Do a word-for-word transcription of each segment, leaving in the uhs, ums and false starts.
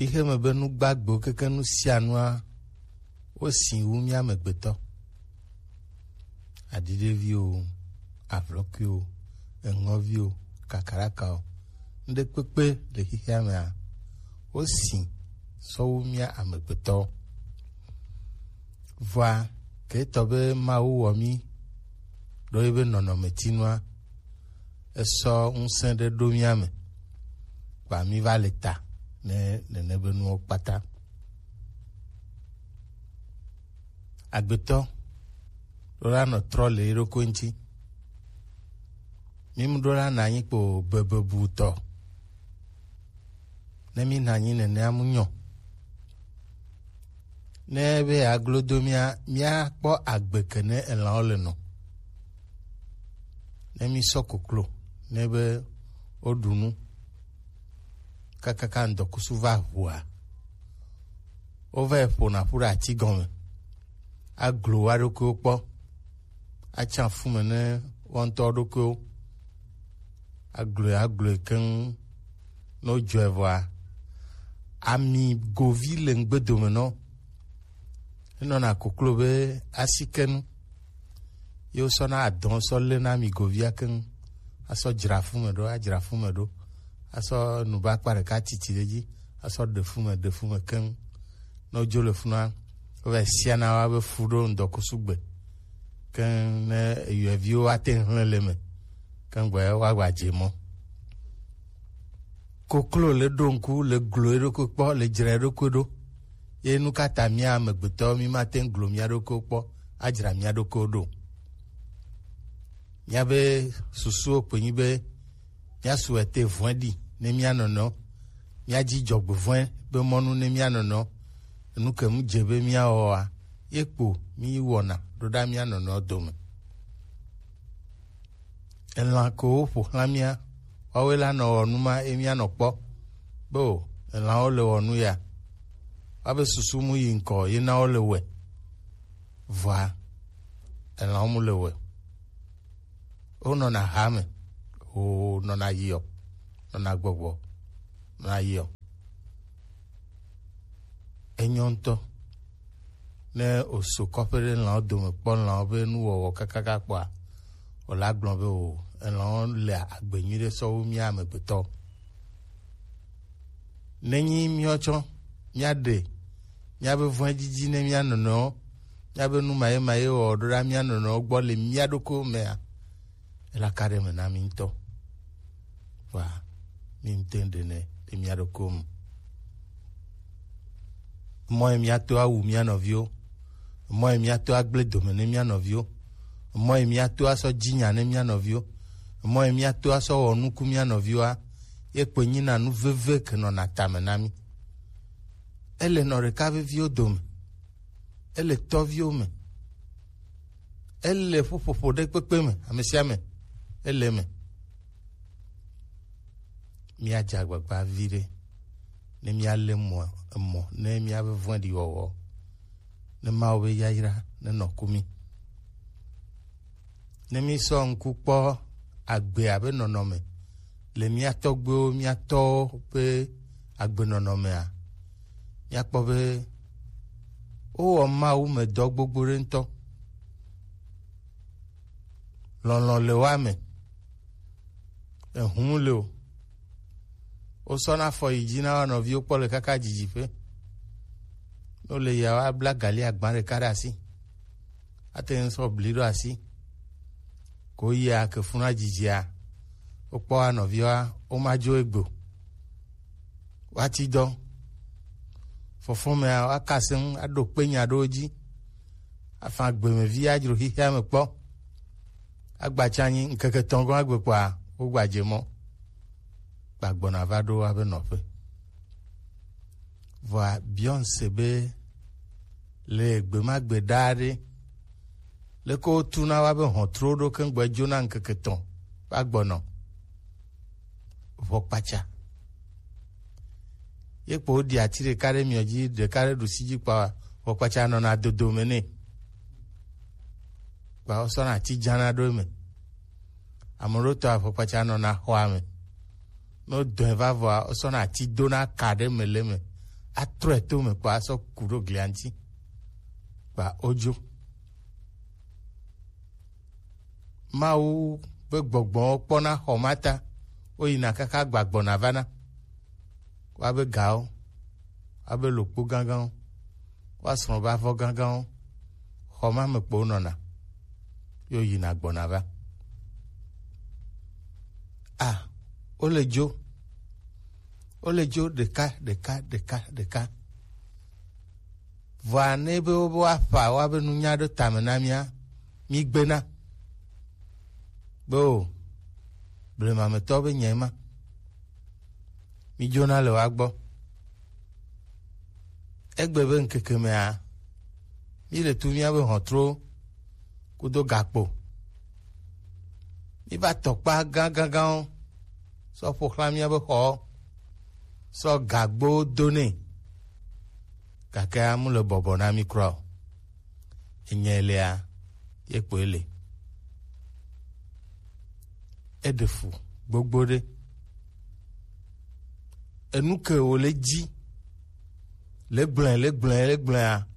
Xixeme be nu gbagbewo keke nu sia nua, wosi wu mía amegbetɔ. Aɖiɖeviwo, avlɔkuiwo, eŋɔviwo, kakarakawo, nuɖekpekpe le xixea mea, wosi sɔ wu mía amegbetɔwo. Vɔa, ke etɔ be Mawu wɔ mí ɖo ye be nɔnɔmetinua, esɔ ŋusẽ ɖe ɖo mía me, kpa mí va le ta ne nene be nuwo kpata. Agbetɔ ɖo la nɔ trɔ le yeɖokui ŋuti. Mí mu ɖo la na anyi kpo bebebutɔ. Ne mí na anyi nenea mu nyɔ. Ne be aglo do mía, mía kpɔ agbe ke ne elãwo le nɔ. Ne mí sɔ koklo, ne be woɖu nu, kakaka ŋdɔkusu va ʋua, wova yi ƒona ƒu ɖe ati gɔme, aglo wa ɖokuiwo kpɔ, atsa fu me ne wo ŋutɔ ɖokuiwo, agloe, agloe keŋ, ne wodzɔe vɔa, ami govi le ŋgbe dome nɔ. Enɔna koklo be asikenu. Ye wosɔna adɔn sɔ lena ami govia keŋ. Asɔ dzra fu me ɖo, adzra fu me ɖo. Asɔ nubakpa ɖeka titi ɖe dzi. Asɔ ɖe fu me, ɖe fu me keŋ. Ne wodzo le funua, wova siana wa be fu ɖo ŋdɔkusu gbe. Keŋ ne eyɔeviwo ate ŋu hlẽ le me. Keŋ gbɔ wa gba dze mɔ. Koklo le ɖo ŋku, le glo eɖokui kpɔ, le dzra eɖokui ɖo. Ye nu ka ta mía amegbetɔwo mí mate ŋu glo mía ɖokuiwo kpɔ, adzra mía ɖokuiwo ɖo? Míabe susuwo kpe nyi be míasu ete vɔ̃e ɖi ne mía nɔnɔewo, míadzi dzɔgbevɔ̃e be mɔnu ne mía nɔnɔewo. Enu ke mu dze be míawɔa, ye kpo mí wɔna ɖo ɖa mía nɔnɔewo dome. Elã ko woƒo xlã mía, woawoe la nɔ wɔ nu ma ye mía nɔ kpɔ be o, elãwo le wɔ nu ya. Woabe susu mu yi ŋkɔ ye na wo le wɔe. Vɔa, elãwo mu le wɔe. Wonɔna ha me, wonɔna yiɔ, nɔna gbɔgbɔ, nɔna yiɔ. Enyɔ ŋutɔ. Ne oso kɔƒe ɖe lãwo dome kpɔ lãwo be nuwɔwɔ kakaka kpɔa, wòle agblɔ be o, elãwo le agbe nyuiɖe sɔ wu mía amegbetɔ. Nenyi míawo tsɔ míaɖe míabe vɔ̃edidi ne mía nɔnɔewo, míabe nu maye maye wɔwɔ ɖo ɖa mía nɔnɔewo gbɔ le mía ɖokuiwo mea, ela ka ɖe eme na mí ŋutɔ. Vɔa, mí ŋutɔ ɖe nɛ ɖe mía ɖokuiwo me. Mɔ ye míato awu mía nɔviwo, mɔ ye míato agblẽ dome ne mía nɔviwo, mɔ ye míato asɔ dzi nya ne mía nɔviwo, mɔ ye míato asɔ wɔ nuku mía nɔviwoa, ye kpoe nyina nu veve ke nɔna tame na mí. Ele nɔ ɖeka veviwo dome, ele tɔviwo me, ele ƒuƒoƒo ɖe kpekpe me, ame sia ame, ele eme. Míadze agbagba viɖe ne míalé mɔ, emɔ ne míabe vɔ̃ɖiwɔwɔ, ne Mawu be yayra nenɔ ku mí. Ne mísɔ ŋku kpɔ agbea be nɔnɔme le mía tɔgbuiwo, mía tɔwo ƒe agbenɔnɔmea, míakpɔ be wowɔ Mawu me dɔ gbogbo ɖe ŋutɔ. Lɔlɔ̃ le woa me. Ehum le o. Wosɔna afɔ yi dzi na wo nɔviwo kpɔ le kaka dzidziƒe. Ne wole yia, woabla gali agba ɖeka ɖe asi. Ate ŋu sɔ bli ɖo asi. Ko yia ke funa dzidzia, wokpɔ wa nɔviwa, womadzo egbe o. Woati dɔ. Fɔfɔmea, woaka se ŋu, aɖo kpe nya ɖewo dzi. Afa gbemevi adzro xixea me kpɔ. Agbatsa anyi ŋkeke etɔ̃ gɔ̃ agbe kpɔa, wogbadze mɔ. Gbagbɔna va ɖo woabe nɔƒe. Vɔa, Beyonce be le gbe ma gbe ɖaa ɖe, leke wotuna woabe hɔntruwo ɖo keŋ gbɔ edzona ŋkeke etɔ̃ va gbɔnɔ? Ʋɔkpatsa. Ye kpo woɖi ati ɖeka ɖe miɔ dzi, ɖeka ɖe ɖusi dzi kpa, ʋɔkpatsa nɔna dodo me nɛ. Kpa wosɔna ati dzana ɖo eme. Ame ɖewo tɔ ʋɔkpatsa nɔna xɔa me. Ne wodɔe va vɔa, wosɔna ati dona ka ɖe me le eme. atrɔe to me kpa asɔ ku ɖo glia ŋuti kpa odzo. Mawu be gbɔgbɔ kpɔna xɔ ma ta, woyina kaka gbagbɔna vana. Woabe gawo, woabe lokpo gãgãwo, woasrɔ̃ be avɔ gãgãwo, xɔ ma me kpo wonɔna, ye woyina gbɔna va. A, wole dzo, wole dzo ɖeka, ɖeka, ɖeka, ɖeka. Vɔa ne be wobe woaƒa woabe nunya ɖo tame na mía, mígbena be o, blemametɔ be nyɛ ma. Mídzona le woa gbɔ. Egbe be ŋkeke mea, míle tu míabe hɔntro kudo gakpo. Míva tɔkpa gãgãgãwo sɔ ƒo xlã míabe xɔwo, sɔ gagbowo do nɛ, gake amu le bɔbɔ na mí kura o. Enye lea, ye kpoe le. Eɖe fu gbogbo ɖe. Enu ke wòle dzi le gblẽ, le gblẽ, le gblẽa,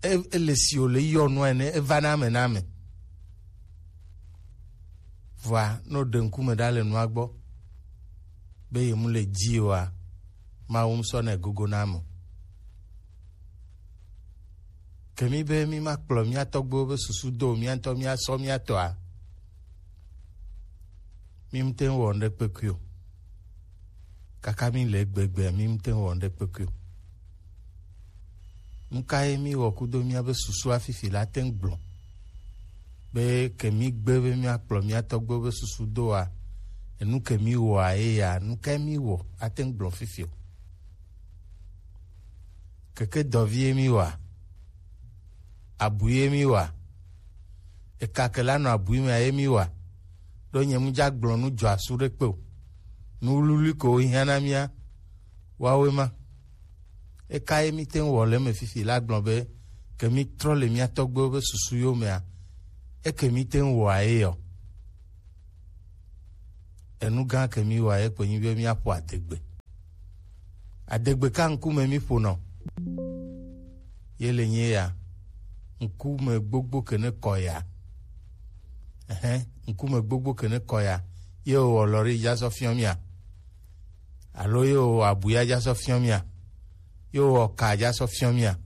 e-, ele si wòle yɔ nua ene, eva na ame na ame. Vɔa, ne wòɖe ŋkume ɖa le nua gbɔ, be yemu le dzi oa, Mawu ŋusɔ nɛ gogo na ame o. Ke mí be mí ma kplɔ mía tɔgbuiwo be susu do mía ŋutɔ mía sɔ mía tɔa, mí mte ŋu wɔ ŋɖe kpekui o. Kaka mí le egbegbe, mí mte ŋu wɔ ŋɖe kpekui o. Nu ka ye mí wɔ kudo mía be susua fifi la te ŋu gblɔ? Be ke mí gbe be mía kplɔ mía tɔgbuiwo be susu doa, enu ke mí wɔa ye ya, nu ka ye mí wɔ ate ŋu gblɔ fifi o? Keke dɔvi ye mí wa, abui ye mí wa, eka ke la nɔ abui mea ye mí wa, ɖo nye mu dza gblɔ nu dzɔ asu ɖe kpe o. Nu wluwlui ko wo hiã na mía, woawoe ma. Eka ye mí te ŋu wɔ le eme fifi la gblɔ be, ke mí trɔ le mía tɔgbuiwo be susu yo mea, eke mí te ŋu wɔa ye yɔ. Enu gã ke mí wɔa ye kpe nyi be míaƒo adegbe. Adegbe ka ŋkume mí ƒonɔ? Ye le nye ya, ŋkume gbogbo ke ne kɔ ya. Ɛhɛn, ŋkume gbogbo ke ne kɔ ya. Ye wɔ lɔri dza sɔ fiɔ mía. Alo ye wɔ abuya dza sɔ fiɔ mía. Ye wɔ ka dza sɔ fiɔ mía.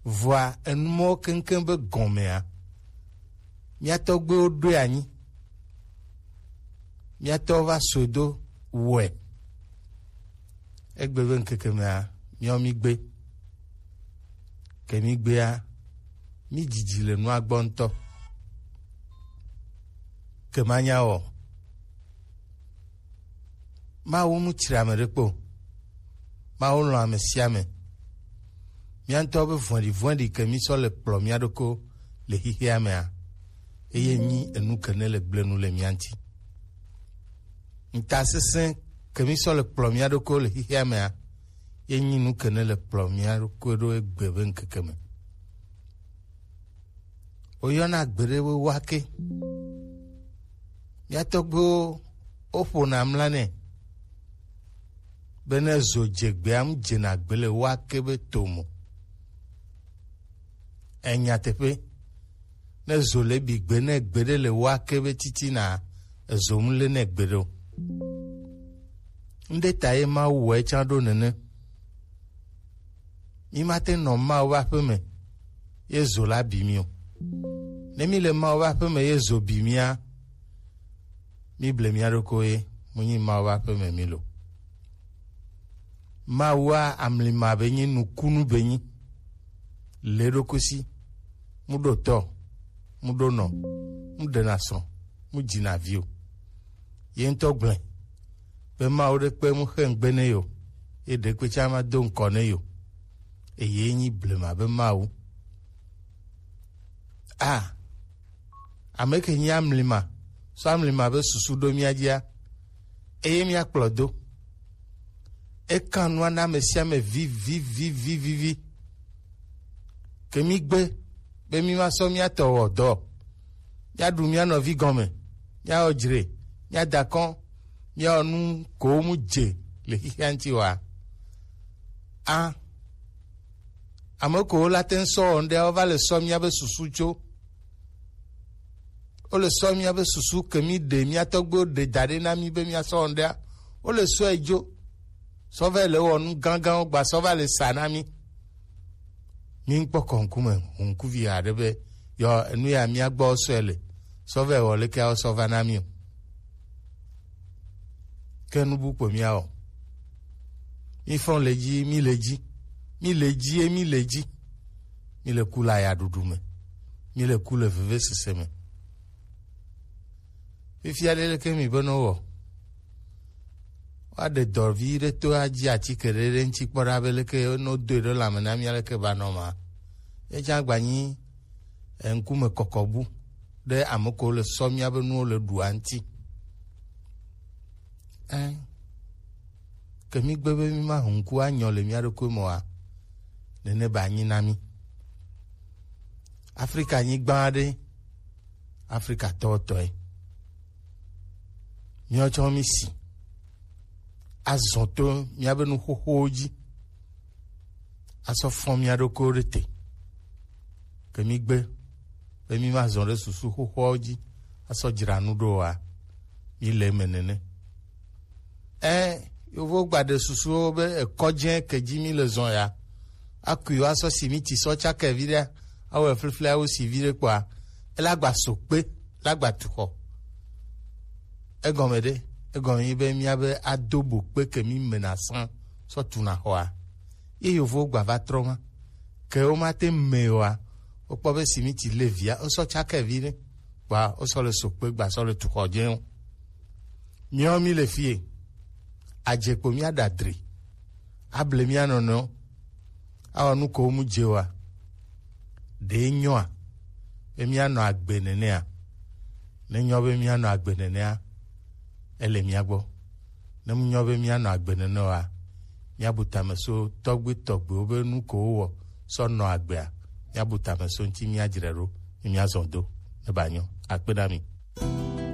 Vɔa, enu mɔwo keŋkeŋ be gɔmea, mía tɔgbuiwo ɖoe anyi. Mía tɔwo va sɔe do wɔe. Egbe be ŋkeke mea, míawo mí gbe. Ke mí gbea, mí dzidzi le nua gbɔ ŋutɔ. Ke manya wɔ. Mawu mu tsri ame ɖe kpo. Mawu lɔ̃ ame sia ame. Mía ŋutɔ be vɔ̃ɖivɔ̃ɖi ke mí sɔ le kplɔ mía ɖokɔ le xexea mea, eye nyi enu ke ne le gblẽ nu le mía ŋuti. Ŋutasesẽ ke mí sɔ le kplɔ mía ɖokɔ le xexea mea, ye nyi nu ke ne le kplɔ mía ɖokɔ ɖo egbe be ŋkeke me. Woyɔna gbeɖe be wake. Mía tɔgbuiwo woƒona mla nɛ be ne zo dze gbea, mu dzena gbe le wake be tomo. Enyateƒe, ne zo le bi gbe ne gbeɖe le wake be titina, ezo mu le ne gbeɖe o. Ŋɖe ta ye Mawu wɔe tsã ɖo nene. Mí mate nɔ Mawu ƒe aƒe me ye zo la bi mí o. Ne mí le Mawu ƒe aƒe me ye zo bi mía, mí ble mía ɖokuiwo ye, mu nyi Mawu ƒe aƒe me mí lo. Mawua amlima be nyi nukunu be nyi. Le ɖokui si, mu ɖo tɔ, mu ɖo nɔ, mu ɖena srɔ̃, mu dzina vi o. Ye ŋutɔ gblẽ be Mawu ɖe kpe mu xe ŋgbe ne yo, ye ɖe kpe tsã ma do ŋkɔ ne yo. Eye nyi blema be Mawu. A, ame ke nyi amlima, sɔ amlima be susu ɖo mía dzia, eye mía kplɔ do. Ekan nua na ame sia ame vivivivivivi. Ke mí gbe be mí ma sɔ mía tɔ wɔ dɔ. Mía ɖu mía nɔvi gɔme, mía wɔ dzre, mía da kɔn, mía wɔ nu ko mu dze le xixia ŋuti wa. A, ame kewo la te ŋu sɔ wɔ ŋɖe, wova le sɔ míabe susu tso. Wole sɔ míabe susu ke mí ɖe, mía tɔgbuiwo ɖe da ɖe na mí be míasɔ wɔ ŋɖea, wole sɔe dzo. Sɔ va le wɔ nu gãgãwo gba sɔ va le sa na mí. Mí ŋkpɔ kɔ ŋkume ŋkuvi aɖe be yɔ enu ya mía gbɔ sɔe le. Sɔ va wɔ leke awɔ sɔ va na mí o. Ke nu bu kpo mía wɔ. Mí fɔn le dzi, mí le dzi. Mí le dzi ye mí le dzi. Mí le ku le ayaɖuɖu me. Mí le ku le vevesese me. Fifia ɖe leke mi be no wɔ? Woaɖe dɔ vi ɖe to adzi atike ɖe ɖe ŋuti kpɔ ɖa be leke no doe ɖe lãme na mía leke ba nɔ ma. Ye tsã gba nyi eŋkume kɔkɔbu ɖe ame ko le sɔ míabe nuwo le ɖua ŋuti. Ɛ, ke mí gbe be mí ma ŋku anyɔ le mía ɖokui me oa, nene ba nyi na mí. Afrika nyigba aɖe, Afrika tɔtɔe. Míawo tsɔ mí si azɔ to míabe nuxoxowo dzi, asɔ fɔn mía ɖokuiwo ɖe te. Ke mí gbe be mí ma zɔ ɖe susu xoxoawo dzi asɔ dzra nu ɖo oa, mí le eme nene. Ɛ, yovo gba ɖe susuwo be ekɔdze ke dzi mí le zɔ ya, akui woasɔ simiti sɔ tsake vi ɖe, awɔe flifli awo si vi ɖe kpɔa, ela gba so kpe, la gba tu xɔ. Egɔme ɖe, egɔme nyi be míabe ado bo kpe ke mí mena sã sɔ tuna xɔa. Ye yovowo gba va trɔ ma. Ke womate me oa, wokpɔ be simiti le via, wosɔ tsake vi ɖe. Kpɔa, wosɔ le so kpe gba sɔ le tu xɔ dze o. Míawo mí le fie. Adze kpo mía ɖa dri. Able mía nɔnɔewo. Awɔ nu ko mu dze oa. Ɖe nyɔa be míanɔ agbe nenea? Ne nyɔ be míanɔ agbe nenea, ele mía gbɔ. Ne mu nyɔ be míanɔ agbe nene oa, míabu tame so tɔgbi tɔgbiwo be nu ko wowɔ sɔ nɔ agbea, míabu tame so ŋuti míadzre ɖo, ne míazɔ do, ne ba nyɔ. Akpe na mi.